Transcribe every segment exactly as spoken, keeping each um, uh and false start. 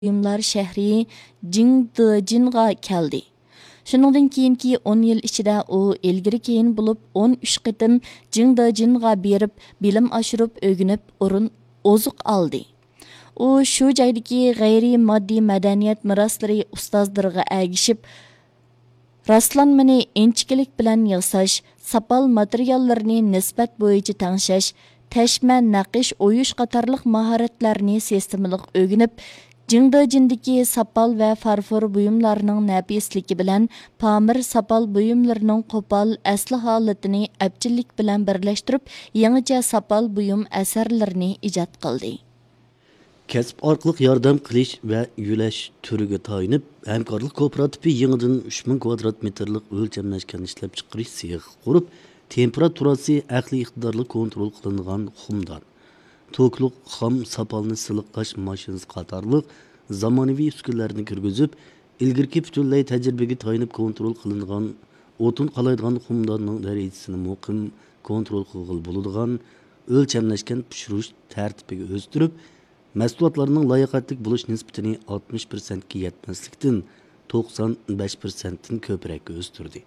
بۇيۇملار شەھىرى جىڭدېجىنغا كەلدى. شۇنىڭدىن كېيىنكى ئون يىل ئىچىدە ئۇ ئىلگىرى كېيىن بولۇپ ئون ئۈچ قېتىم جىڭدېجىنغا بېرىپ بىلىم ئاشۇرۇپ ئۆگىنىپ ئورۇن ئوزۇق ئالدى. ئۇ شۇ جايدىكى غەيرىي ماددىي مەدەنىيەت مىراسلىرى ئۇستازلىرىغا ئەگىشىپ، راسلانمىنى ئىنچىكىلىك بىلەن ياساش، ساپال ماتېرىياللىرىنى نىسبەت بويىچە تەڭشەش، تەشمە، نەقىش ئويۇش قاتارلىق ماھارەتلەرنى سىستېمىلىق ئۆگىنىپ، جىڭدېجىندىكى ساپال ۋە فارفور بۇيۇملارنىڭ نەپىسلىكى بىلەن پامىر ساپال بۇيۇملىرىنىڭ قوپال ئەسلى ھالىتىنى ئەپچىللىك بىلەن بىرلەشتۈرۈپ، يېڭىچە ساپال بۇيۇم ئەسەرلىرىنى ئىجاد قىلدى. كەسىپ ئارقىلىق ياردەم قىلىش ۋە يۆلەش تۈرىگە تايىنىپ، ھەمكارلىق كوپىراتىپى يېڭىدىن ئۈچ مىڭ كۋادرات مېتىرلىق ئۆلچەملەشكەن ئىشلەپچىقىرىش سېخى قۇرۇپ، تېمپېراتۇراسى ئەقلىي ئىقتىدارلىق كونترول قىلىنغان خۇمدان، توكلۇق خام ساپالنى سىلىقلاش ماشىنىسى قاتارلىق زامانىۋى ئۈسكۈنىلەرنى كىرگۈزۈپ، ئىلگىرىكى پۈتۈنلەي تەجرىبىگە تايىنىپ كونترول قىلىنغان ئوتۇن قالايدىغان خۇمداننىڭ دەرىجىسىنى مۇقىم كونترول قىلغىلى بولىدىغان ئۆلچەملەشكەن پىشۇرۇش تەرتىپىگە ئۆستۈرۈپ، مەھسۇلاتلارنىڭ لاياقەتلىك بولۇش نىسبىتىنى ئاتمىش پىرسەنتكە يەتمەسلىكتىن توقسان بەش پىرسەنتتىن كۆپرەككە ئۆستۈردى.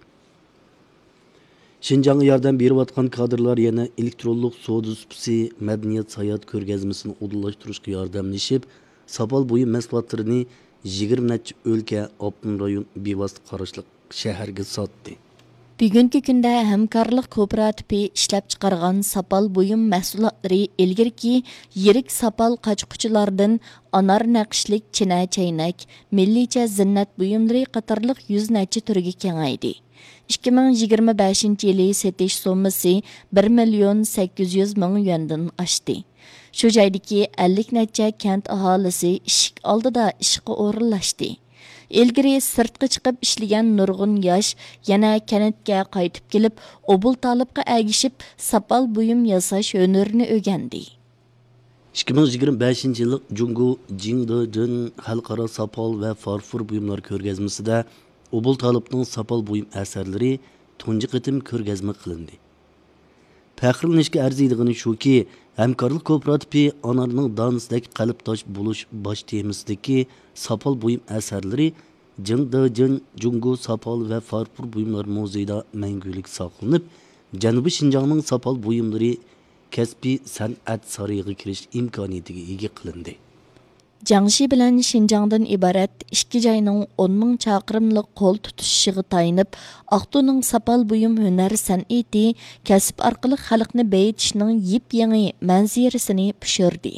شىنجاڭغا ياردەم بېرىۋاتقان كادىرلار يەنە ئېلېكترونلۇق سودا سۇپىسى، مەدەنىيەت، ساياھەت كۆرگەزمىسىنى ئۇدۇللاشتۇرۇشقا ياردەملىشىپ، ساپال بۇيۇم مەھسۇلاتلىرىنى يىگىرمە نەچچە ئۆلكە، ئاپتونوم رايون بىۋاسىتە قاراشلىق شەھەرگە ساتتى. بۈگۈنكى كۈندە ھەمكارلىق كوپىراتىپى ئىشلەپچىقارغان ساپال بۇيۇم مەھسۇلاتلىرى ئىلگىرىكى يىرىك ساپال قاچا-قۇچىلاردىن ئانار نەقىشلىك چىنە چەينەك، مىللىيچە زىننەت بۇيۇملىرى قاتارلىق يۈز نەچچە تۈرگە كېڭەيدى. ئىككى مىڭ يىگىرمە بەشىنچى يىلى سېتىش سوممىسى بىر مىليون سەككىز يۈز مىڭ يۈەندىن ئاشتى. شۇ جايدىكى ئەللىك نەچچە كەنت ئاھالىسى ئىشىك ئالدىدا ئىشقا ئورۇنلاشتى. ئىلگىرى سىرتقا چىقىپ ئىشلىگەن نۇرغۇن ياش يەنە كەنتكە قايتىپ كېلىپ، ئوبۇل تالىپقا ئەگىشىپ، ساپال بۇيۇم ياساش ھۈنىرىنى ئۆگەندى. ئىككى مىڭ يىگىرمە بەشىنچى يىللىق جۇڭگو جىڭدېجىن خەلقئارا ساپال ۋە فارفور بۇيۇملار كۆرگەزمىسىدە ئوبۇل تالىپنىڭ ساپال بۇيۇم ئەسەرلىرى تۇنجى قېتىم كۆرگەزمە قىلىندى. پەخىرلىنىشكە ئەرزىيدىغىنى شۇكى، ھەمكارلىق كوپىراتىپى ئانارنىڭ دانىسىدەك قەلبداش بولۇش باش تېمىسىدىكى ساپال بۇيۇم ئەسەرلىرى جىڭدېجىن جۇڭگو ساپال ۋە فارفور بۇيۇملار مۇزېيىدا مەڭگۈلۈك ساقلىنىپ، جەنۇبىي شىنجاڭنىڭ ساپال بۇيۇملىرى كەسپىي سەنئەت سارىيىغا كىرىش ئىمكانىيىتىگە ئىگە قىلىندى. جياڭشى بىلەن شىنجاڭدىن ئىبارەت ئىككى جاينىڭ ئون مىڭ چاقىرىملىق قول تۇتۇشۇشىغا تايىنىپ، ئاقتۇنىڭ ساپال بۇيۇم ھۈنەر سەنئىتى كەسىپ ئارقىلىق خەلقنى بېيىتىشنىڭ يېپيېڭى مەنزىرىسىنى پىشۇردى.